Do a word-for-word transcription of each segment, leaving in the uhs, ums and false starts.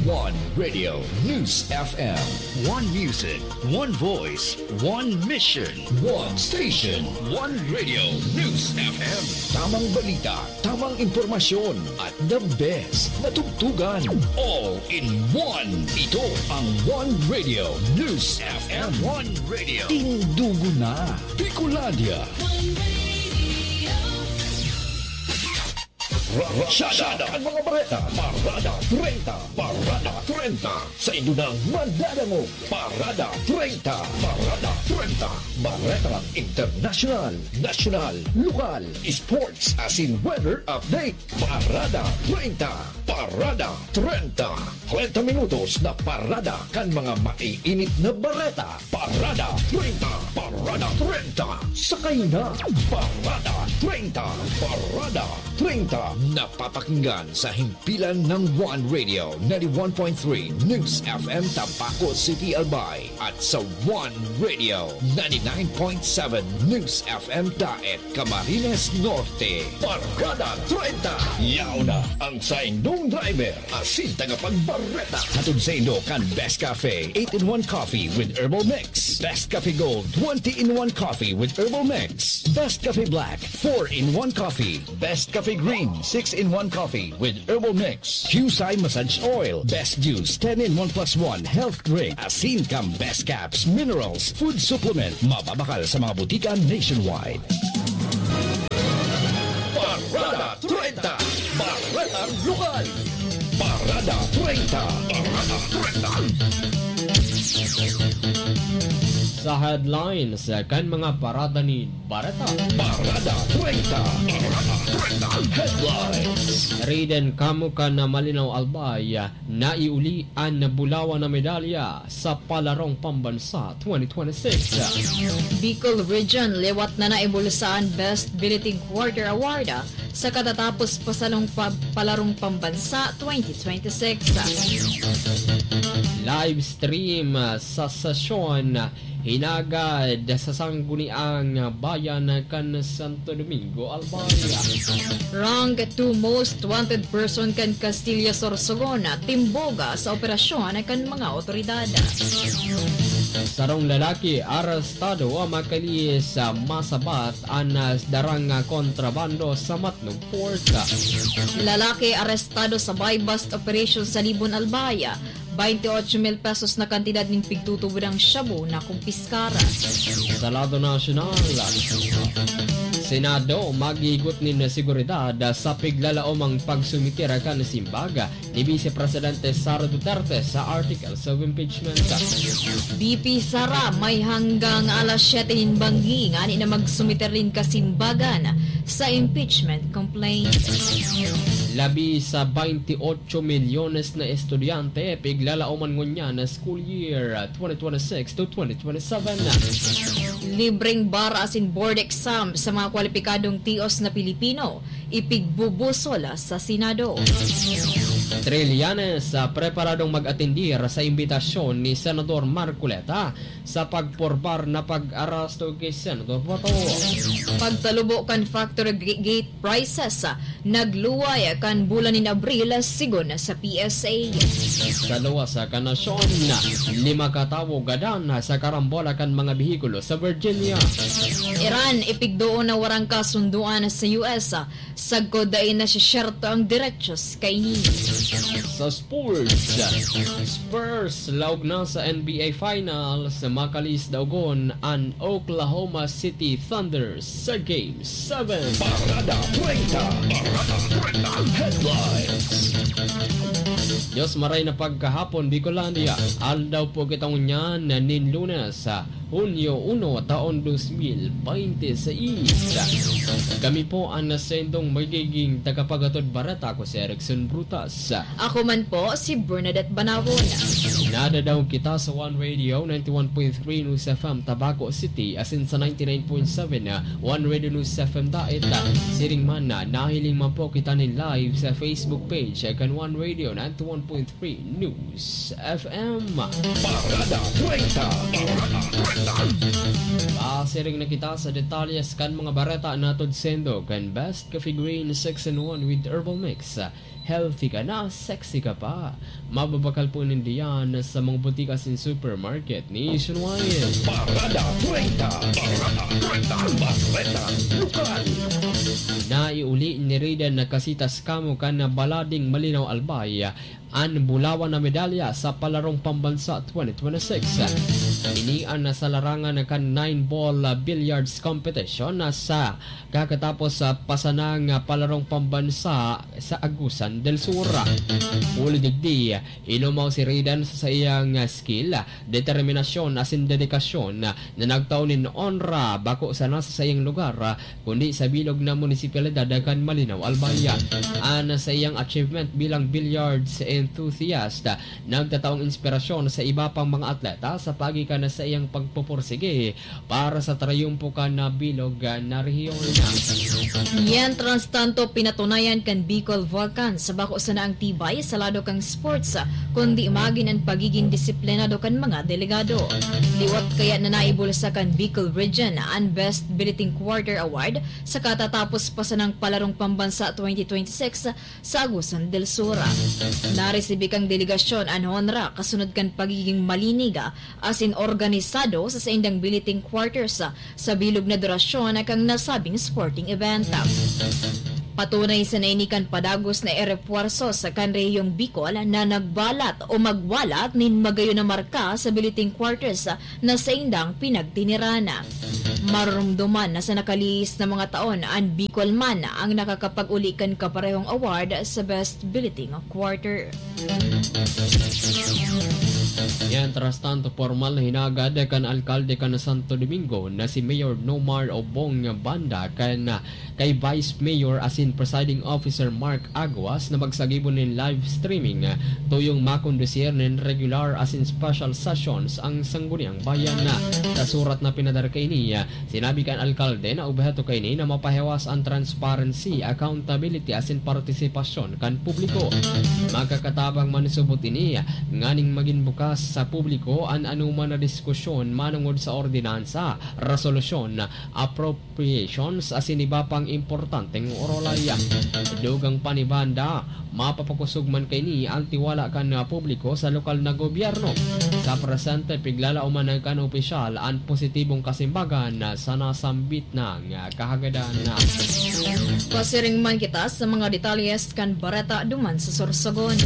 One Radio News F M. One music, one voice, one mission, one station. One Radio News F M. Tamang balita, tamang impormasyon, at the best na tugtugan. All in one. Ito ang One Radio News F M. One Radio. Tindugo na. Bicolandia. One Radio. Rasyada ang mga bareta. Parada treinta. Parada treinta. Sa indo nang madadangog. Parada treinta. Parada treinta. Baretang internasyonal, nasyonal, lokal, sports, asin weather update. Parada treinta. Parada treinta. Treinta minutos na parada kan mga maiinit na bareta. Parada treinta. Parada treinta. Sakay na. Parada treinta. Parada treinta. Napapakinggan sa himpilan ng One Radio, ninety-one point three News F M Tabaco City, Albay, at sa One Radio, ninety-nine point seven News F M Daet, Camarines Norte. Parada treinta. Yaon na ang saindong driver asin tagapagbareta. Hatod saindo kan Best Cafe eight-in-one Coffee with Herbal Mix, Best Cafe Gold twenty-in-one Coffee with Herbal Mix, Best Cafe Black four-in-one Coffee, Best Cafe Green six-in-one Coffee with Herbal Mix, Qcye Massage Oil, Best Juice ten-in-one plus one Health Drink, asin kan Best Caps Minerals Food Supplement. Mababakal sa mga butika nationwide. Parada treinta. Baretang Lokal. Parada treinta. Parada treinta. Sa headlines kan mga parada nin bareta. Parada treinta. Parada treinta. Headlines. Riden kamo kan Malinaw, Albay. Naiuli an bulawan na medalya sa Palarong Pambansa twenty twenty-six. Bicol Region liwat na naibulsa an Best Billeting Quarter Award sa katatapos pa sa long pa-, Palarong Pambansa twenty twenty-six. Live stream sa sesyon hinagad sa Sangguniang Bayan kan Santo Domingo, Albay. Rank two most wanted person kan Castilla, Sorsogon, timbog sa operasyon kan mga otoridad. Sarong lalaki arestado makalihis sa masabat an darang kontrabando sa Matnog Port. Lalaki arestado sa buy-bust operation sa Libon, Albay. Baynte ocho mil pesos na kantidad nin pigtutubodang shabu na kumpiskar. Sa lado nasyonal, Senado maghihigot nin seguridad sa piglalaomang pagsumiter kan simbag ni Vice Presidente Sara Duterte sa articles of impeachment. B P Sara, may hanggang alas siyete nin banggi ngani na magsumiter nin kasimbagan sa impeachment complaint. Labi sa baynte ocho milyones na estudyante piglalaoman ngunyan na school year twenty twenty-six to twenty twenty-seven. Libreng bar asin board exam sa mga kwalipikadong tios na Pilipino, ipigbubusol sa Senado. Trillanes, ah, preparadong mag-atendir sa imbitasyon ni Senador Marcoleta sa pagporbar na pag-aresto ki Senador Bato. Pagtalubo kan factory ga-, gate prices, ah, nagluway kan bulan nin Abril, sigon sa P S A. Sa luwas kan nasyon, lima ka tawo gadan sa karambola kan mga behikulo sa Virginia. Iran, ipigdoon na warang kasundoan sa U S, sagkod dai nasisyerto ang derechos kaini. Sa sports, Spurs laog na sa N B A Finals, makalihis daogon an Oklahoma City Thunder sa Game seven. Parada treinta. Parada treinta. Headlines. Diyos maray na pagkahapon, Bicolandia. Aldaw po kita ngunyan nin Lunes, Hunyo uno, taon dos mil baynte seis. Kami po an saindong magiging tagapaghatod bareta, ako si Erickson Brutas. Ako man po si Bernadette Banawon. Nadadaog kita sa One Radio ninety-one point three News F M Tabaco City, asin sa ninety-nine point seven One Radio News F M Daet. Siring man, nahiling man po kita nin live sa Facebook page kan One Radio ninety-one point three News F M. Parada treinta. Parada treinta. Pasiring na kita sa detalyes kan mga bareta na hatod saindo kan Best Coffee Green six-in-one with Herbal Mix. Healthy ka na, sexy ka pa. Mababakal po ninda yan sa mga butika asin supermarket nationwide. Parada treinta. Parada treinta. Bareta lokal. Naiuli ni Reydan Casitas Camo kan Balading Malinao Albay an bulawan na medalya sa Palarong Pambansa twenty twenty-six. Ini an sa larangan kan nine-ball billiards competition na sa kakatapos sa pasanang palarong pambansa sa Agusan del Sur. Huli digdi, inumaw si Reydan sa saiyang skill, determinasyon asin dedikasyon na nagtao nin onra bako sana sa saiyang lugar, kundi sa bilog na munisipalidad kan Malinao Albay. An saiyang achievement bilang billiards enthusiast nagtataong inspirasyon sa iba pang mga atleta sa paagi kan saiyang pagpupursige para sa trayumpo kan bilog na rehiyon. Mientras tanto, pinatunayan kan Bicol Vulcans sa bako sana ang tibay sa lado kan sports, kundi magin an pagiging disiplinado kan mga delegado. Liwat kaya na naibulsa kan Bicol Region an Best Billeting Quarter Award sa katatapos pa sanang Palarong Pambansa twenty twenty-six sa Agusan del Sur. Naresibi kan delegasyon an honra kasunod kan pagiging malinig asin organisado sa saindang billeting quarters sa bilog na durasyon kan nasabing sporting event. Patunay sana ini kan padagos na erepuwerso sa kan rehiyong Bicol na nagbalat o magwalat nin magayon na marka sa billeting quarters na saindang pinagtiniran. Marumduman na sa nakalihis na mga taon, an Bicol man ang nakakapag-uli kan kaparehong award sa Best Billeting Quarter. Mientras tanto, pormal na hinagad kan alkalde kan Santo Domingo na si Mayor Nomar Obong Banda kan kay Vice Mayor asin Presiding Officer Mark Aguas na magsagibo nin live streaming, tuyong makondusir nin regular asin special sessions ang Sangguniang Bayan. Sa surat na pinadara kaini, sinabi kan alkalde na obheto kaini na mapahiwas an transparency, accountability asin partisipasyon kan publiko. Makakatabang man subot ini nganing magin bukas sa publiko an anoman na diskusyon manongod sa ordinansa, resolusyon, appropriations asin iba pang importanteng orolay. Dugang pa ni Banda, mapapakosog man kaini an tiwala kan publiko sa lokal na gobyerno. Sa presente, piglalaoman kan opisyal an positibong kasimbagan sa nasambit na kahagadan. Pasiring man kita sa mga detalyes kan bareta duman sa Sorsogon.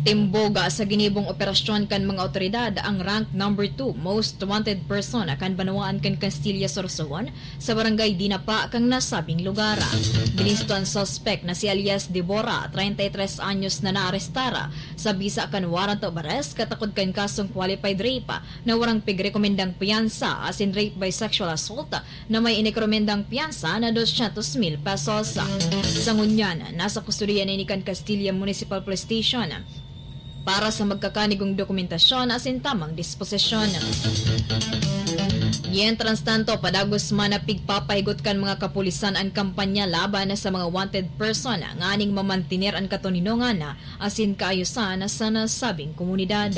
Timboga sa ginibong operasyon kan mga otoridad ang rank number two most wanted person kan banwaan kan Castilla, Sorsogon, sa barangay Dinapa kan nasabing lugar. Binisto an suspek na si alias Debora, treinta y tres anyos, na naarestar sa bisa kan warrant of arrest katakod kan kasong qualified rape na warang pigrekomendang piyansa asin rape by sexual assault na may inirekomendang piyansa na doscientos mil pesos. Sa ngunyan, nasa kustodiya na ini kan Castilla Municipal Police Station para sa magkakanigong dokumentasyon asin tamang disposisyon. Mientras tanto, padagos man na pigpapahigot kan mga kapulisan an kampanya laban sa mga wanted person nganing mamantener an katoninongan asin kaayosan sa nasabing komunidad.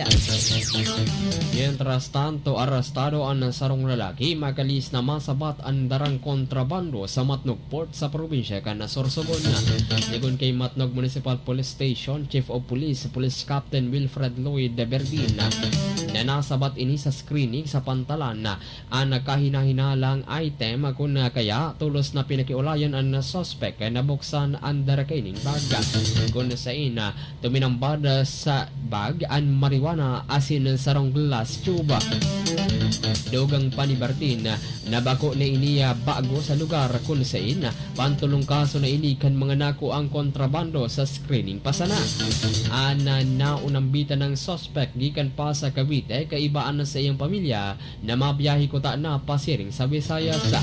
Mientras tanto, arestado an sarong lalaki makalihis na masabat an darang kontrabando sa Matnog Port sa probinsya kan Sorsogon. Sigon kay Matnog Municipal Police Station Chief of Police, Police Captain Wilfred Lloyd Berdin, na nasabat ini sa screening sa pantalan an kahinahinalang item, kun kaya tolos na pinakiulayan an suspek na buksan an dara kaining bag. Kun sain, tuminambad sa bag an marijuana asin sarong glass tube. Dugang pa ni Berdin na bako na ini bago sa lugar kun sain pantolong kaso na ini kan mga nakuang kontrabando sa screening pa sana. An naunambitan ng suspek gikan pa sa Cavite, kaiba an sa iyang pamilya na mabiyahe kuta na pasiring sa Visayas.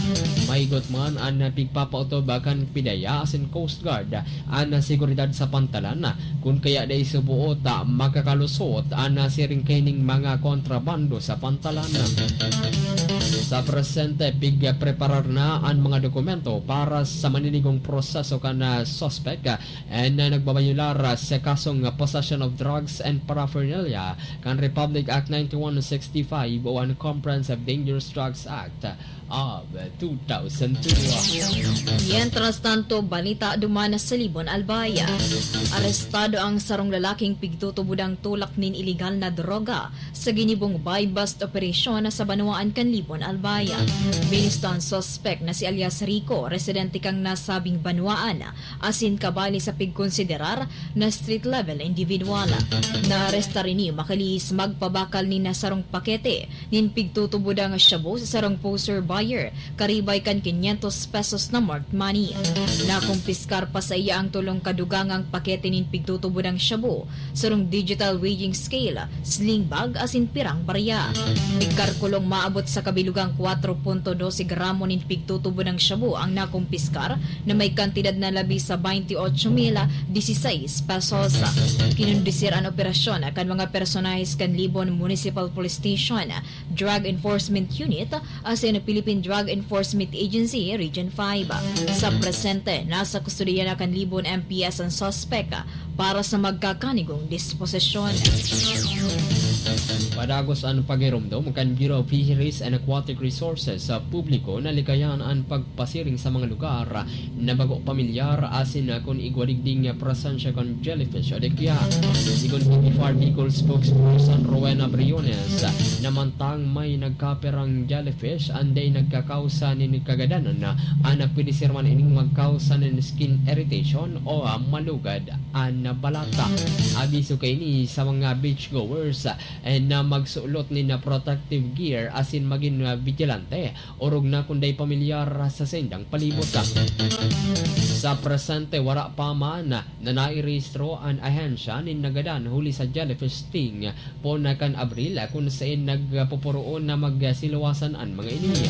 Mahigot man an pigpapautob kan PDEA asin Coast Guard an seguridad sa pantalan, kun kaya dai subuot makakalusot an siring kaining mga kontrabando sa pantalan. Sa presente, pigpreparar na an mga dokumento para sa maninigong proseso kan, ah, suspek, ah, na nagbabayular, ah, sa kasong, ah, possession of drugs and paraphernalia kan Republic Act ninety-one sixty-five o an Comprehensive Dangerous Drugs Act of two thousand two. Mientras tanto, balita duman sa Libon Albay. Arestado ang sarong lalaking pigtutubodang tulak nin iligal na droga sa ginibong buy-bust operasyon sa banwaan kan Libon Albay. Binisto an suspek na si alias Rico, residente kan nasabing banwaan, asin kabali sa pigkonsiderar na street-level individual. Naarestar ini makalihis magpabakal nin sarong pakete nin pigtutubodang shabu sa sarong poser buyer, karibay kan quinientos pesos na marked money. Nakumpiskar pa saiya ang tolong kadugangang pakete nin pigtutubodang shabu, sarong digital weighing scale, sling bag asin pirang barya. Nagkalkulong maabot sa kabilugang kwatro punto dose gramo nin pigtutubodang shabu ang nakumpiskar, na may kantidad na labi sa baynte otso mil diseseis pesos. Kinondusir an operasyon kan mga personahes kan Libon Municipal Police Station, Drug Enforcement Unit, asin Philippine Drug Enforcement Agency Region five. Sa presente, nasa kustodiya na kan Libon M P S an suspek para sa magkakanigong disposisyon. Padagos an paghiromdom kan Bureau of Fisheries and Aquatic Resources sa publiko na likayan an pagpasiring sa mga lugar na bago pamilyar asin kun igwa digding presensya kan jellyfish o dikya. Sigon ki BFAR Bicol spokesperson Rowena Briones, na mantang may nagkapirang jellyfish an dai nagkakausa nin kagadanan, an pwede sirman ining magkausa nin skin irritation o, ah, malugad an balata. Abiso kaini sa mga beachgoers, eh, na magsulot nin protective gear asin magin, ah, vigilante, orog na kun dai pamilyar sa saindang palibot. Sa presente, wara pa man na nairehistro an ahensya nin nagadan huli sa jellyfish sting poon na kan Abril, kun saen nagpuporoon na magsiluwasan an mga ini.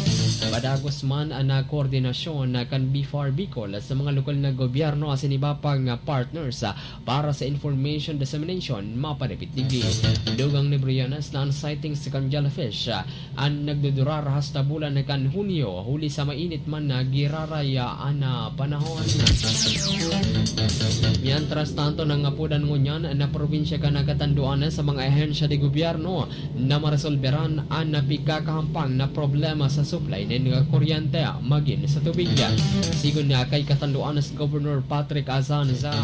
Padagos man an koordinasyon kan BFAR Bicol sa mga lokal na gobyerno asin iba pang partners para sa information dissemination mapadapit digdi. Dugang ni Briones na an sightings kan jellyfish an nagdudurar hasta bulan kan Hunyo, huli sa mainit man na giraray an panahon. Mientras tanto, nangapodan ngunyan na probinsya kan katanduan sa mga ahensya de gobyerno na maresolberan an napikakahampang na problema sa supply nin kuryente magin sa tubig. Sigon na kay katanduan sa Governor Patrick Azanza,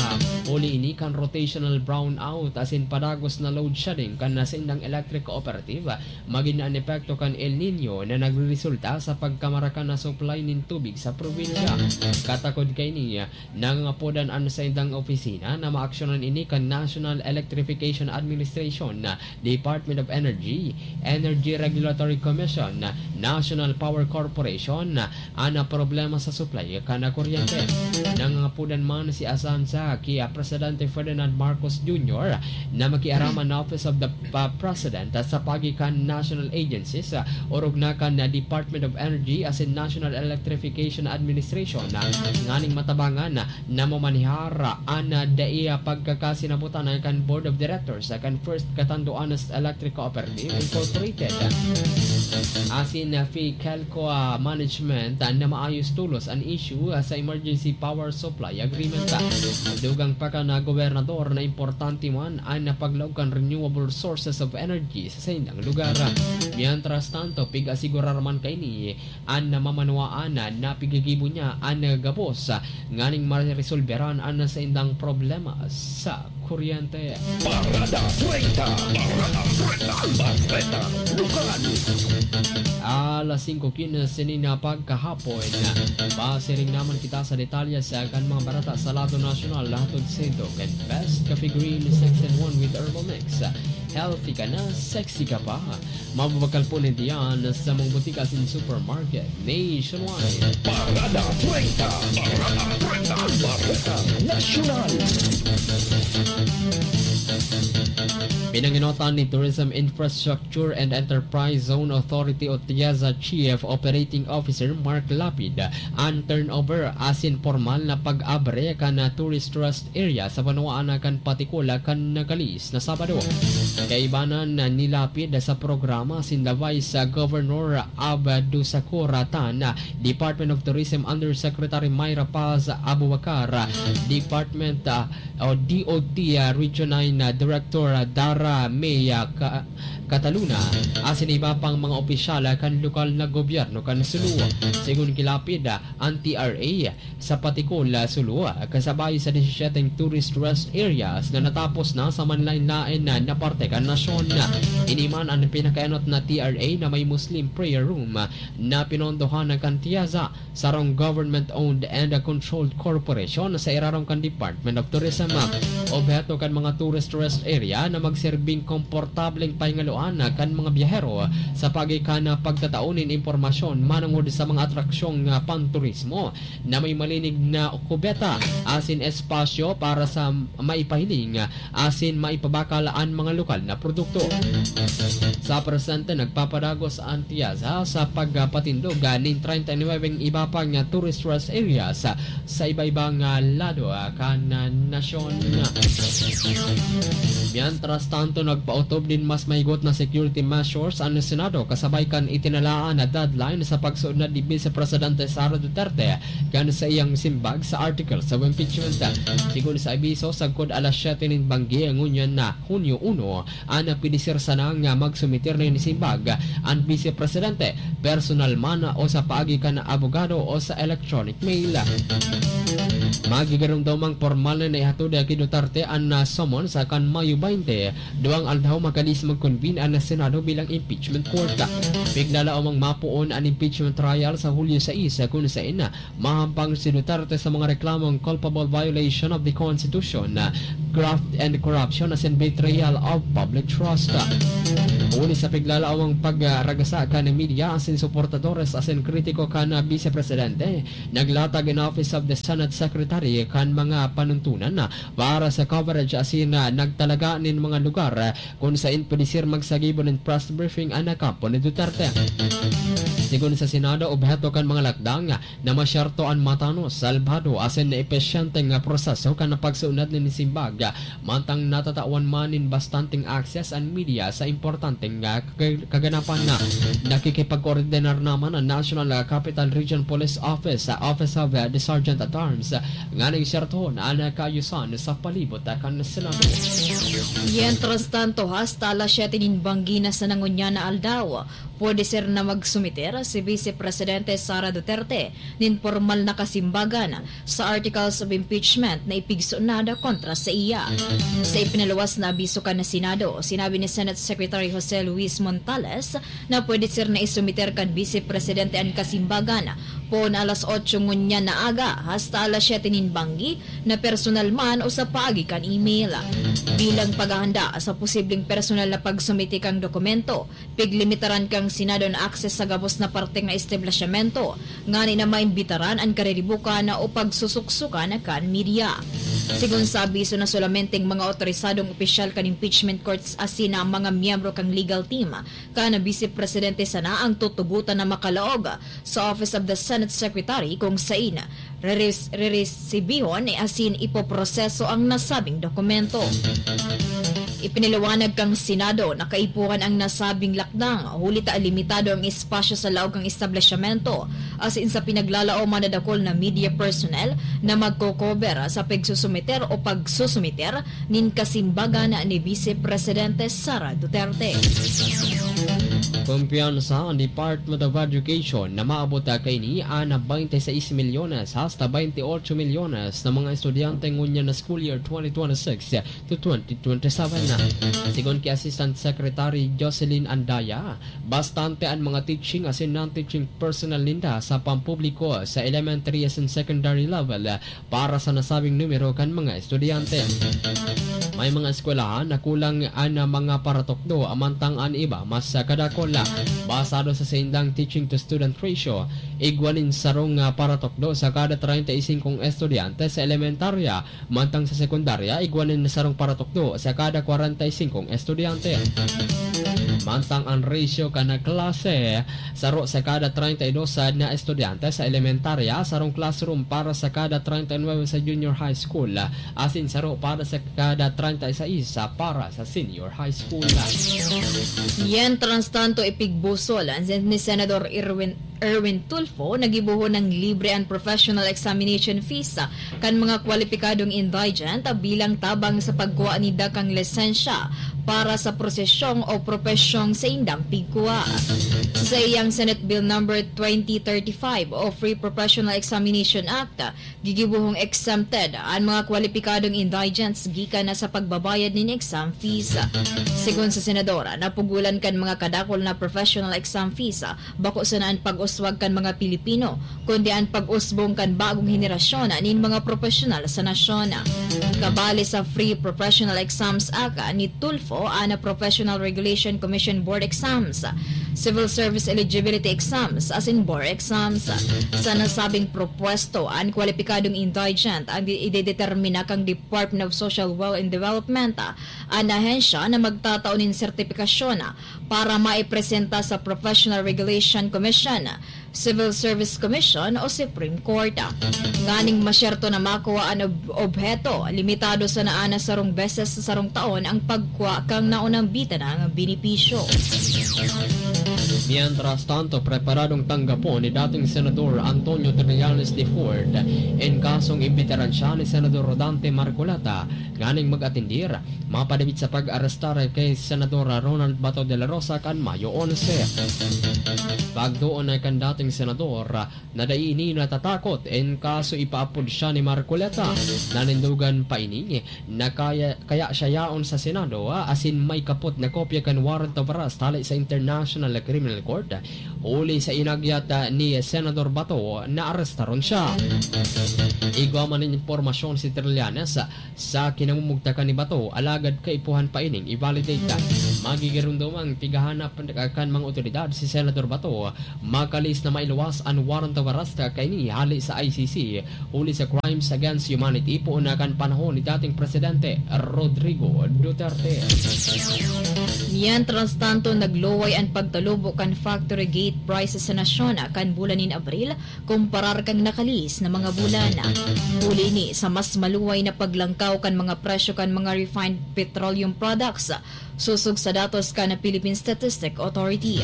huli ini kan rotational brownout asin padagos na load shedding kan saindang electric cooperative, magin an epekto kan El Niño na nagreresulta sa pagkamarakan na supply nin tubig sa probinsya. Katakod kaini, nangangapodan an saindang opisina na maaksyonan ini kan National Electrification Administration, Department of Energy, Energy Regulatory Commission, National Power Corporation, an problema sa supply kan kuryente. Nangangapodan man si Azanza ki Presidente Ferdinand Marcos Junior na makiaram an Office of the pa-, President sa paagi kan national agencies, orog na kan Department of Energy asin National Electrification Administration, nganing matabangan na mamanihar an dai pagkakasinabutan kan Board of Directors kan First Catanduanes Electric Cooperative Incorporated asin Ficelco Management na maayos tulos an issue sa Emergency Power Supply Agreement. Dugang pa kan gobernador na importante man an paglaog kan renewable sources of energy sa saindang lugar. Mientras tanto, pig-asigurar man kaini an mamanwaan na pigigibo niya an gabos nganing maresolberan an saindang problema sa kuryente. Parada treinta. Parada treinta. Bareta Lokal. Alas singko quince nin pagkahapon. Pasiring naman kita sa detalye sa kan mga bareta sa lado nasyonal, hatod sa inyo kan Best Coffee Green six in one with Herbal Mix. Healthy ka na, sexy ka pa. Mababakal po nindiyan sa mga butika asin supermarket nationwide. Parada treinta. Parada treinta. Bareta Nasyonal. Pinangenotan ni Tourism Infrastructure and Enterprise Zone Authority o TIEZA Chief Operating Officer Mark Lapid an turnover asin pormal na pag-abre kan Tourist Rest Area sa banwaan kan Patikul kan nakalis na Sabado. Kaibanan ni Lapid sa programa sinda Vice Governor Abdusakor Tan, Department of Tourism Undersecretary Myra Paz Abubakar, Department, ah, o D O T, ah, Region nine, ah, Director, ah, Dara May, ah, Ka-, Cataluna, asin iba pang mga opisyal, ah, kan lokal na gobyerno kan Sulu. Sigon ki Lapid, ah, an T R A sa Patikul, ah, Sulu, ah, kasabay sa disisiyete tourist rest areas na natapos na sa manlaen-laen na, na parte kan nasyon. Ini man an pinakaenot na T R A na may Muslim prayer room, ah, na pinondohan kan TIEZA, sarong government-owned and controlled corporation sa irarom kan Department of Tourism. Obheto kan mga tourist rest area na magserbing komportableng pahingaloan kan mga biyahero sa paagi kan pagtatao nin impormasyon manongod sa mga atraksyong, ah, panturismo na may malinig na kubeta asin espasyo para sa maipahiling asin maipabakal an mga lokal na produkto. Sa presente, nagpapadagos an TIEZA sa pagpatindog nin treinta y nueve iba pang tourist rest areas sa iba-ibang lado kan nasyon. Mientras tanto, nagpaotob nin mas mahigot na security measures an Senado kasabay kan itinalaan na deadline sa pagsunod ni Vice Presidente Sara Duterte kan saiyang simbag sa articles of impeachment. Sigon sa abiso, sagkod alas siyete nin banggi ngunyan na Hunyo uno, an pwede ser sana nga magsumiter nin simbag an Vice Presidente, personal man o sa paagi kan abogado o sa electronic mail. Magigarumdamang pormal na naihatod ki Duterte an, ah, summons kan Mayo baynte, duwang aldaw makalis mag-convene an Senado bilang impeachment court. Piglalaomang mapoon an impeachment trial sa Hulyo sais, kun saen mahampang si Duterte sa mga reklamong culpable violation of the Constitution, graft and corruption asin betrayal of public trust. Huli sa piglalaomang pagragasa kan media asin suportadores asin kritiko kan Vice Presidente, naglatag an Office of the Senate Secretary kan mga panuntunan para sa coverage asin nagtalaga nin mga lugar kun saen pwede ser magsagibo nin press briefing an kampo ni Duterte. Sigon sa Senado, obheto kan mga lakdang na masyerto an matanos, salbado asin episyenteng proseso kan pagsunod nin simbag, mantang natatawan man nin bastanteng access an media sa importanteng, ah, kag-, kaganapan. Nakikipag-koordinar naman an National, ah, Capital Region Police Office, ah, Office of, ah, the Sergeant at Arms, ah, nganing sertohon an kaayusan sa palibot, ah, kan Senado. Mientras tanto, hasta alas siyete nin banggi na sana ngunyan na aldaw, pwede ser na magsumiter si Vice Presidente Sara Duterte nin pormal na kasimbagan sa articles of impeachment na ipigsunod kontra saiya. Sa ipinaluwas na abiso kan Senado, sinabi ni Senate Secretary Jose Luis Montales na pwede ser na isumiter kan Vice Presidente an kasimbagan poon alas otso ngunyan na aga hasta alas siyete nin banggi, na personal man o sa paagi kan email. Bilang paghahanda sa posibleng personal na pagsumite kan dokumento, piglimitaran kan Senado an access sa gabos na parte kan establisyamento, ngani na maimbitaran an kariribukan o pagsosoksokan kan media. Sigon sa abiso na, solamenteng mga otorisadong opisyal kan impeachment courts asin an mga miyembro kan legal team kan Vice Presidente sana an tutugotan na makalaog sa Office of the Senate Secretary, kun saen reres-, reresibihon asin ipoproseso an nasabing dokumento. Ipinaliwanag kan Senado na kaipuhan an nasabing lakdang, huli ta limitado an espasyo sa laog kan establisyamento, asin sa pinaglalaoman na dakul na media personnel na magko-cover sa pagsusumiter o pagsusumiter nin kasimbagan ni Vice Presidente Sara Duterte. Kumpiyansa an Department of Education na maabot kaini an baynte sais milyones hasta baynte otso milyones na mga estudyante ngunyan na school year twenty twenty-six to twenty twenty-seven. Sigon ki Assistant Secretary Jocelyn Andaya, bastante an mga teaching asin non-teaching personnel ninda sa pampubliko sa elementary asin secondary level para sa nasabing numero kan mga estudyante. May mga eskwelahan na kulang an mga paratukdo, mantang an iba mas kadakol. Basado sa saindang teaching to student ratio, igwa nin sarong, ah, paratukdo sa kada treinta y cinco estudyante sa elementarya, mantang sa sekundarya, igwa nin sarong paratukdo sa kada treinta y cinco estudyante. Mantang ang ratio kan klase, saro sa kada treinta y dos na estudyante sa elementarya, sarong classroom para sa kada treinta y nueve sa junior high school, asin saro para sa kada treinta y seis para sa senior high school. Mientras tanto, ipigbusol ni Senador Erwin Erwin Tulfo, nagibohon nin libre an professional examination fees kan mga kwalipikadong indigent bilang tabang sa pagkua ninda kan lisensya para sa prosesyong o propesyong saindang pigkua. Sa saiyang Senate Bill Number twenty thirty-five o Free Professional Examination Act, gigibohong exempted an mga kwalipikadong indigents gikan na sa pagbabayad nin exam fees. Segun sa senador, napugolan kan mga kadakul na professional exam fees, bako sana an pag-uswag kan mga Pilipino, kundi an pag-usbong kan bagong henerasyon nin mga profesional sa nasyon. Kabali sa Free Professional Exams Act ni Tulfo an Professional Regulation Commission Board Exams, Civil Service Eligibility Exams, asin bar exams. Sa nasabing propwesto, an kwalipikadong indigent ang di-, idedetermina kan Department of Social Welfare and Development, an ahensya na magtatao nin sertipikasyon para maipresenta sa Professional Regulation Commission, Civil Service Commission o Supreme Court. Nganing masyerto na makuha an ob-, obheto, limitado sana an sarong beses sa sarong taon ang pagkua kan naunang bitanang benepisyo. Mientras tanto, preparadong tanggapon ni dating Senador Antonio Trillanes de Ford an kasong imbitaran siya ni Senador Rodante Marcoleta nganing mag-atendir mapadagit sa pag-arestar kay Senador Ronald Bato de la Rosa kan Mayo onse. Pagdoon na kan dating senador na dai ini natatakot in kaso ipaapod siya ni Marcoleta. Nanindogan pa ini na kaya, kaya siya yaon sa Senado, ah, asin may kapot na kopya kan warrant of arrest hali sa International Criminal Court, huli sa inagyat, ah, ni Senador Bato na arestaron siya. Igwa man nin impormasyon si Trillanes, ah, sa kinamumugtakan ni Bato, alagad kaipuhan pa ining i-validate. Magigiromdomang pighahanap kan mga otoridad si Senador Bato, makalihis na mailuwas an warrant of arrest kaini hali sa I C C, huli sa crimes against humanity poon na kan panahon ni dating Presidente Rodrigo Duterte. Mientras tanto, nagluway an pagtalubo kan factory gate prices sa nasyon kan bulan nin Abril, kumparar kan nakalihis na mga bulan. Huli ini sa mas maluway na paglangkaw kan mga presyo kan mga refined petroleum products, sosog sa datos kan Philippine Statistic Authority.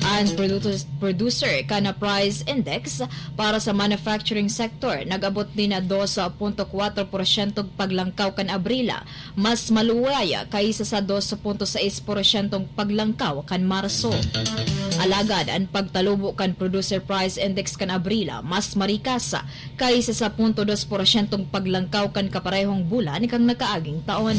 An produce-, producer kan price index para sa manufacturing sector nag-abot nin dos punto kwatro porsyentong paglangkaw kan Abril, mas maluway kaysa sa dos punto sais porsyentong paglangkaw kan Marso. Alagad an pagtalubo kan Producer Price Index kan Abril mas marikas kaysa sa punto dos porsyentong paglangkaw kan kaparehong bulan kan nakaaging taon.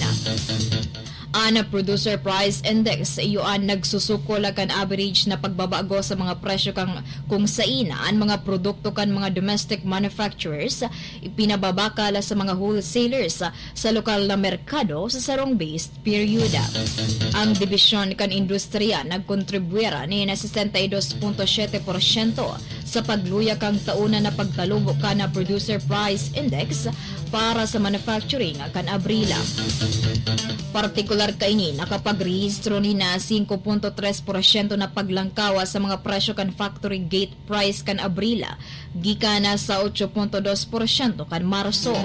An Producer Price Index, iyo an nagsusukol kan average na pagbabago sa mga presyo kan kung sain an mga produkto kan mga domestic manufacturers ipinababakal sa mga wholesalers sa lokal na merkado sa sarong base period. Ang dibisyon kan industriya nagkontribuyar nin sesenta y dos punto siyete porsyento sa pagluya kan taon na pagtalubo kan Producer Price Index para sa manufacturing kan Abril. Partikular kaini, nakapagrehistro nin singko punto tres porsyento na paglangkaw sa mga presyo kan factory gate price kan Abril, gikan na sa otso punto dos porsyento kan Marso.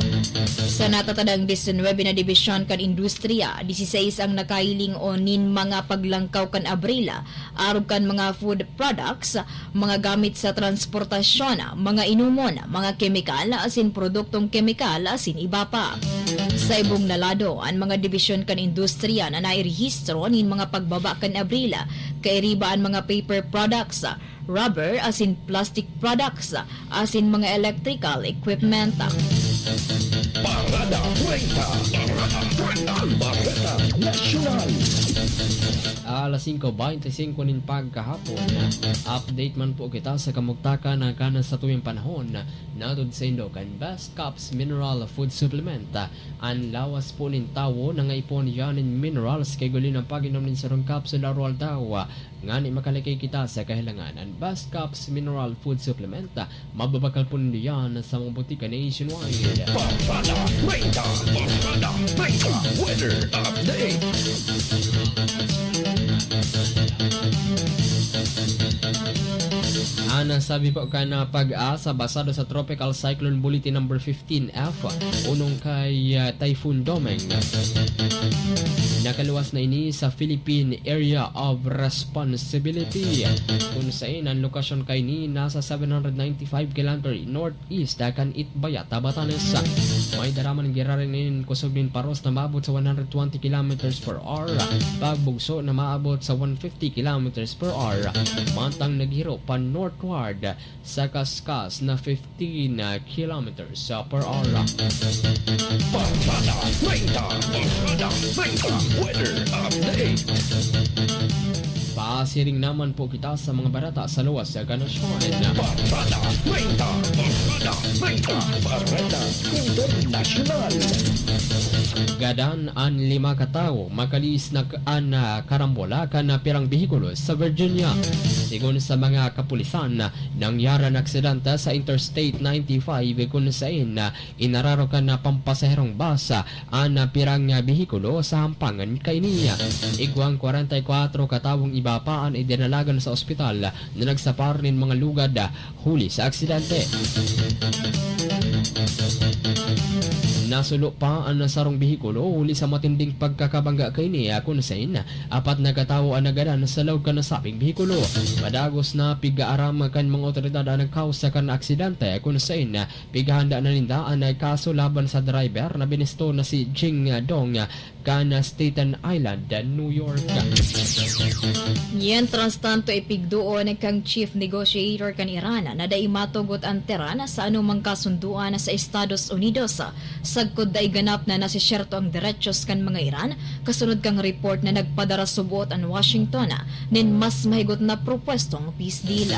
Sa natatadang disinwebe na dibisyon kan industriya, diseseis ang nakahiling o nin mga paglangkaw kan Abril, arog kan mga food products, mga gamit sa transportasyon, mga inomon, mga kemikal, asin produktong kemikal, asin iba pa. Sa ibong na lado, an mga dibisyon kan industriya na nairehistro nin mga pagbaba kan Abril, kairiba an mga paper products, rubber asin plastic products, asin mga electrical equipment. Parada treinta. Parada treinta. Ang Bareta Nasyonal. Alas singko beinti singko nin pagkahapon, update man po kita sa kamugtakan na kanan sa tuyang panahon. Nahatod saindo kan Best Caps Mineral Food Supplement. An lawas po nin tawo nangaipon yan nin minerals, kaya igwa nin pag-inom nin sarong kapsul aroaldaw. Ngani makalikay kita sa kahilangan. An Best Caps Mineral Food Supplement, mababakal po nindo yan sa mga botika nationwide. Parada treinta. Barkada Treinta Weather Update. Ang sabi po kan, ah, PAGASA, basado sa Tropical Cyclone Bulletin Number fifteen F, unong kay, ah, Typhoon Domeng. Nakaluwas na ini sa Philippine Area of Responsibility, kun sain ang lokasyon kaini nasa seven hundred ninety-five kilometer north east kan Itbayat, Batanes. May daraman giraray nin kusog nin paros na maabot sa one hundred twenty kilometers per hour, pagbugso na maabot sa one fifty kilometers per hour, mantang naghiro pa northward sa kaskas na fifteen kilometers per hour. Barkada Treinta, Barkada Treinta, weather update. Pasiring naman po kita sa mga bareta sa luwas sa nasyon. Barkada Treinta, Barkada Treinta, Bareta Internasyonal. Gadan an lima ka tawo, makalihis na k-, an, ah, karambola kan, ah, pirang behikulo sa Virginia. Sigon sa mga kapulisan, nangyari an aksidente sa Interstate ninety-five, kun sain, ah, inararo kan, ah, pampasaherong bus, ah, an, ah, pirang, ah, behikulo sa hampangan kaini. Igwang kwarenta y kwatro ka tawong iba pa an idinalagan sa ospital na nagsapar nin mga lugad, ah, huli sa aksidente. Nasulo pa an sarong behikulo huli sa matinding pagkakabangga kaini, ah, kun sain apat na katawo an nagadan sa laog kan nasabing behikulo. Padagos na pig-aaram kan mga otoridad an kawsa kan aksidente, kun sain pighahanda na ninda an kaso laban sa driver na binisto na si Jing Dong kan Staten Island, New York. Mientras tanto, ipigduon kan chief negotiator kan Iran na dai matugot an Tehran sa anumang kasunduan sa Estados Unidos, sagkod dai ganap na nasisyerto ang derechos kan mga Iran, kasunod kan report na nagpadara subot an Washington nin mas mahigot na propuestong peace deal.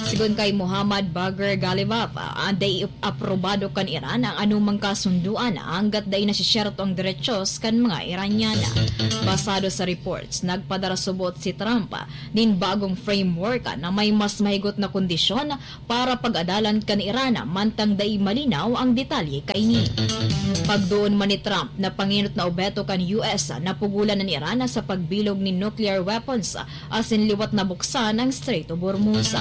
Sigon kay Mohammad Bagher Ghalibaf, ah, dai aprobado kan Iran ang anumang kasunduan hanggat dai nasisyerto ang derechos kan mga Iranian. Basado sa reports, nagpadara subot si Trump nin bagong framework na may mas mahigot na kondisyon para pag-adalan kan Iran, mantang dai malinaw ang detalye kaini. Pagduon man ni Trump na pangenot na obheto kan U S, napugolan an Iran sa pagbilog nin nuclear weapons asin liwat na buksan ang Strait of Hormuz.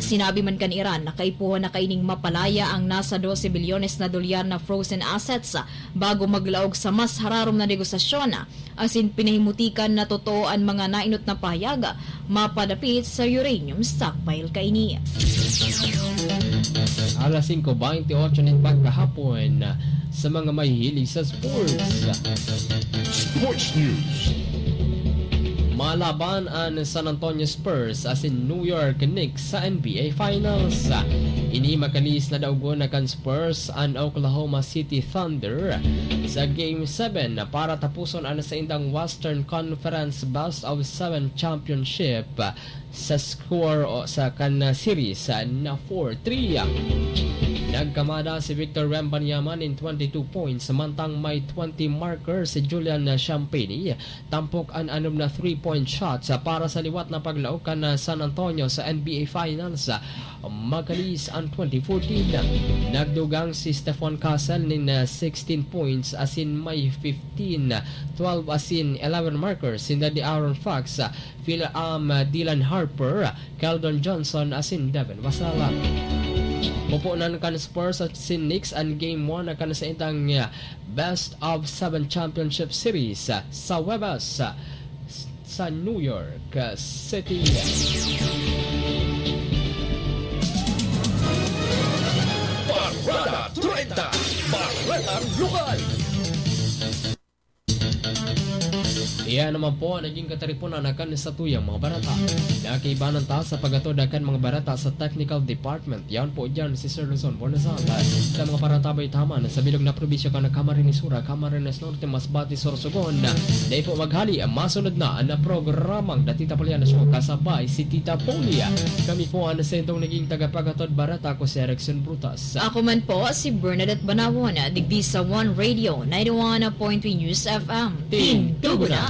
Sinabi man kan Iran na kaipuhan na kaining mapalaya ang nasa dose bilyones na dolyar na frozen assets bago maglaog sa mas hararom na negosasyon, asin pinahimutikan na totoo an mga nainot na pahayag mapadapit sa uranium stockpile kaini. Alas singko bente otso nin pagkahapon, sa mga mahihilig sa sports. Sports News. Malaban an San Antonio Spurs asin New York Knicks sa N B A Finals. Ini makalihis na daogon na kan Spurs an Oklahoma City Thunder sa Game seven para tapuson an saindang Western Conference Best of Seven Championship sa score o sa kan series na four three. Nagkamada si Victor Wembanyama nin twenty-two points, mantang may twenty marker si Julian Champagnie. Tampok an anom na three-point shots para sa liwat na paglaog kan San Antonio sa N B A Finals. Makalihis an twenty fourteen. Nagdugang si Stephon Castle nin, ah, sixteen points asin may fifteen, twelve asin eleven markers sinda De'Aaron Fox, Phil, um, Dylan Harper, Keldon Johnson asin Devin Vassell. Pupunan kan Spurs asin Knicks an Game one kan saindang, ah, Best of Seven Championship Series, ah, sa Huwebes, ah, sa New York, ah, City. Barkada treinta, Baretang Lokal. Iyan naman po ang naging kataripunan na kan satuyang mga bareta. Nakiibanan ta sa paghatod na kan mga bareta sa technical department. Yan po dyan si Sir Luzon Bonazal. Sa mga paratabay taman, sa bilog na probinsya kan Camarines Sur, Camarines Norte, Masbate, Sorsogon. Dai po maghali, masunod na ang programang Datita Poliana Show kasabay si Tita Polia. Kami po ang sentong naging tagapaghatod bareta, ako si Erickson Brutas. Ako man po si Bernadette Banawon, digdi sa One Radio, ninety-one point three News F M. Tindugo na!